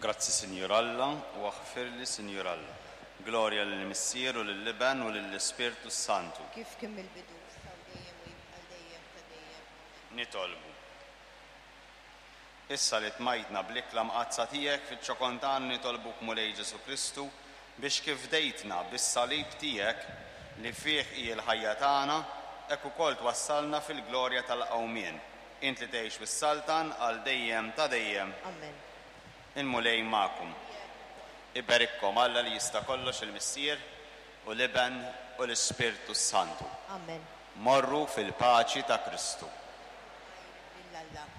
Grazzi Sinjur Alla u aħfirli Sinjur Alla. Glorja lill-Missier u lill-Iben u lill-Ispirtu s-Santu. Kif kien mill-bidu, issa u dejjem u jibqa' għal dejjem ta' dejjem. Amen. Nitolbu. Issa li tmajtna bl-ikla mqaddsa tiegħek fiċ-ċokon tagħna nitolbuk Mulej Ġesù Kristu biex kif fdejtna bis-salib tiegħek li fih hi l-ħajja tagħna, hekk ukoll twassalna fil-glorja tal-qawmien. Int li tgħix u ssaltan għal dejjem ta' dejjem. Amen. Il-Mulej magħkom. Iberikkom Alla li jista' kollox il-Missier u l-Iben u l-Ispirtu s-Santu. Amen. Morru fil-paċi ta' Kristu. Lil Alla.